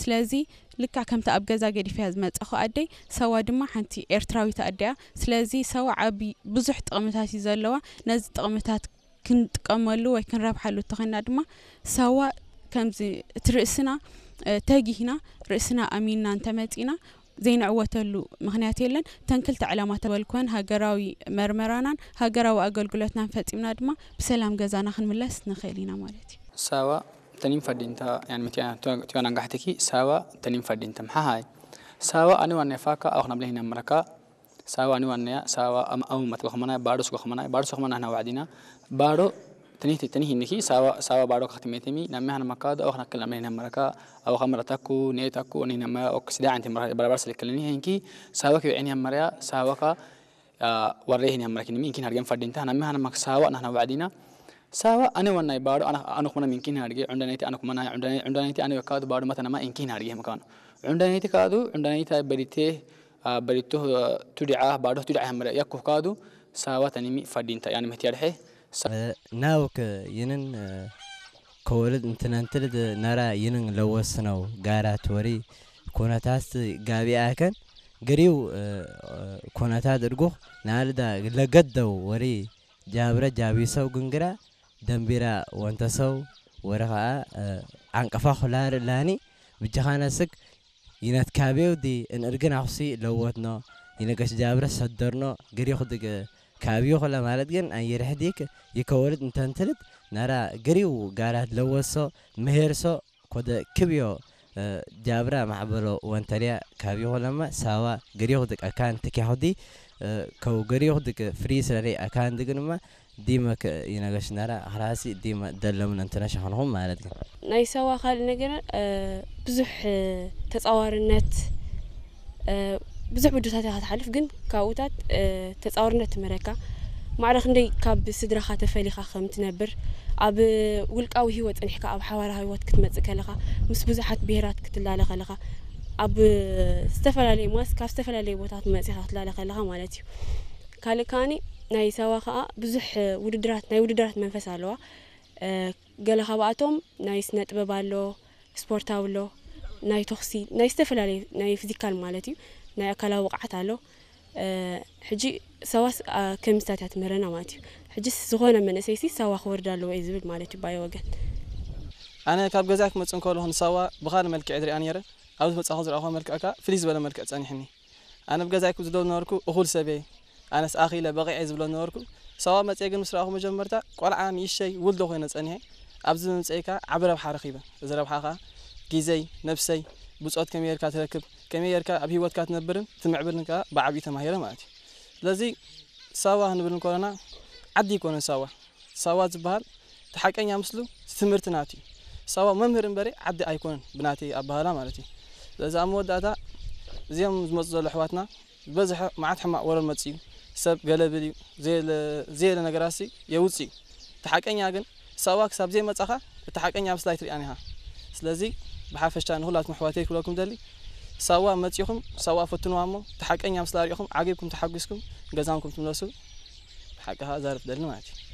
ስለዚ ልክዕ ከምቲ ኣብ ገዛ ገዲፈያ ዝመጻኹ ኣደይ፣ ሳዋ ድማ ሓንቲ ኤርትራዊት ኣደያ። ስለዚ ሳዋ ዓቢ ብዙሕ ጥቕምታት እዩ ዘለዋ። ነዚ ጥቕምታት ክንጥቀመሉ ወይ ክንረብሓሉ እንተኾይንና ድማ ሳዋ ከምዚ እቲ ርእስና፣ እ፣ ተጊህና ርእስና ኣሚንና እንተመጺና ዘይንዕወተሉ ምኽንያት የለን። እተን ክልተ ዕላማ ተበልኮን ሃገራዊ መርመራናን ሃገራዊ ኣገልግሎትናን ፈጺምና ድማ ብሰላም ገዛና ክንምለስ ንኽእል ኢና ማለት እዩ። Sawa, tenim fadinta, yani mitiana tuana ngahtiki, sawa, tenim fadinta. Mahai. Sawa, ani wane faka, au na blehina maraka. Sawa, ani wane, sawa, am au mat gohmana, baru gohmana, baru gohmana na wadina. Baru, teni teni niki, sawa, sawa, baru kakti metemi, na mehan makado, au na kala blehina maraka, au kamara taku, ne taku, ni na ma, ok sida anti maraka, barabar selikalini, henki, sawa ki enya maria, sawa ka, warree hin hammarakini minkin hargen fadinta na mehana mak sawa na na wadina. Sawa ane wanai baro ana anu kuma minkin harge undanaiti anu kuma na undanaiti ane wakadu baro mata nama inkin harge makano. Undanaiti kadu undanaiti berite, berito, tudia baro tudia hammara yakku kadu. Sawa tanimi fadinta yani mehti arhe. Nawk yinin kowalid intinantilid nara yinin lawasnaw garat wari kunatast gabi akan gariw kunatad irguk naalda lagadaw wari jabra jabisaw gungira dambira wantasaw wari kaa anqafa khular lani ብጃኻነስክ ይነት ካቤው ዲ እንእርግን ኣኹሲ ለወትኖ ይነገሽ ጃብረ ሰደርኖ ገሪኹ ድግ ካቢዩ ኹለ ማለት ግን ኣይርሕዲክ ይከወልድ እንተንትልት ናራ ገሪው ጋራት ለወሶ ምሄርሶ ኮደ ክብዮ ጃብራ ማዕበሎ ወንተልያ ካቢዩ ኹለማ ሳዋ ገሪኹ ድግ ኣካን ትኪያኹዲ ከው ገሪኹ ድግ ፍሪ ስለለይ ኣካን ድግንማ ዲመ ይነገሽ ናራ ኣኽራሲ ዲመ ደለምን እንትነ ሸኸንኹም ማለት ግን ናይ ሰዋ ካልእ ነገር ብዙሕ ተጻዋርነት ብዙሕ ውድታት ኢኻ ትሓልፍ ግን ካብኡታት ተጻዋርነት ትምህረካ ማዕረ ክንደይ ካብ ስድራኻ ተፈሊኻ ከም ትነብር ኣብ ውልቃዊ ህይወት ጸኒሕካ ኣብ ሓባራዊ ህይወት ክትመጽእ ከለኻ ምስ ብዙሓት ብሄራት ክትላለ ከለኻ ኣብ ዝተፈላለየ ማስ ካብ ዝተፈላለየ ቦታት መጺኻ ክትላለ ከለኻ ማለት እዩ። ካልእ ከኣኒ ናይ ሳዋ ከኣ ብዙሕ ውድድራት ናይ ውድድራት መንፈስ ኣለዋ። ገለ ካብኣቶም ናይ ስነ ጥበብ ኣሎ፣ ስፖርታዊ ኣሎ፣ ናይ ተኹሲ ናይ ዝተፈላለዩ ናይ ፊዚካል ማለት እዩ ናይ ኣካላዊ ብቕዓት ኣሎ። ሕጂ ሳዋስ ከምስታት እያ ትምህረና ማለት እዩ። ሕጂስ ዝኾነ መንእሰይሲ ሳዋ ክወርድ ኣለዎ እዩ ዝብል ማለት እዩ ባይ ወገን። ኣነ ካብ ገዛይ ክመጽእ እንከለኹ ንሳዋ ብኻልእ መልክዕ ዝሪኣ ነይረ። ኣብ ዝመጻኹ ዝረኣኹ መልክዕ ከኣ ፍልይ ዝበለ መልክዕ ጸኒሕኒ። ኣነ ብገዛይ ክብ ዝደው ነበርኩ እኹል ሰብ እየ። ኣነስ ኣኺለ በቒዐ ዝብሎ ነበርኩ። ሳዋ መጽየ ግን ምስ ረኣኹ መጀመርታ ቆልዓ ንእሽተይ ውልዶ ኮይነ ጸኒሐ። ኣብዚ ምምጽአይ ከኣ ዓቢ ረብሓ ረኺበ። እዚ ረብሓ ከኣ ግዜይ፣ ነብሰይ፣ ብጾት ከመይ ጌርካ ትረክብ፣ ከመይ ጌርካ ኣብ ህይወትካ ትነብርን ትምዕብልን ከኣ ብዓቢኡ ተማሂረ ማለት እዩ። ስለዚ ሳዋ ክንብል እንከለና ዓዲ ኣይኮነን ሳዋ። ሳዋ ዝበሃል እቲ ሓቀኛ ምስሉ እቲ ትምህርቲ ናቱ እዩ። ሳዋ መምህር እምበሪ ዓዲ ኣይኮነን ብናተይ ኣበሃህላ ማለት እዩ። ስለዚ ኣብ መወዳእታ እዚኦም ዝመፁ ዘለዉ ኣሕዋትና ዝበዝሐ መዓት ሕማቕ ወረ መፅኡ እዩ። ሰብ ገለ ብል እዩ፣ ዘየለ ነገራት ሲ የውፅእ እዩ። እቲ ሓቀኛ ግን ሳዋ ክሳብ ዘይመፃኻ እቲ ሓቀኛ ምስላ ኣይትሪኣን ኢኻ። ስለዚ ብሓፈሻ ንኹላትኩም ኣሕዋተይ ክብለኩም ደሊ ሳዋ መፂኹም ሳዋ ፈትንዋ እሞ እቲ ሓቀኛ ምስላ ሪእኹም ዓጊብኩም ተሓጒስኩም ገዛምኩም ትምለሱ። ብሓቂ ከዓ ዛርብ ደሊ ማለት እዩ።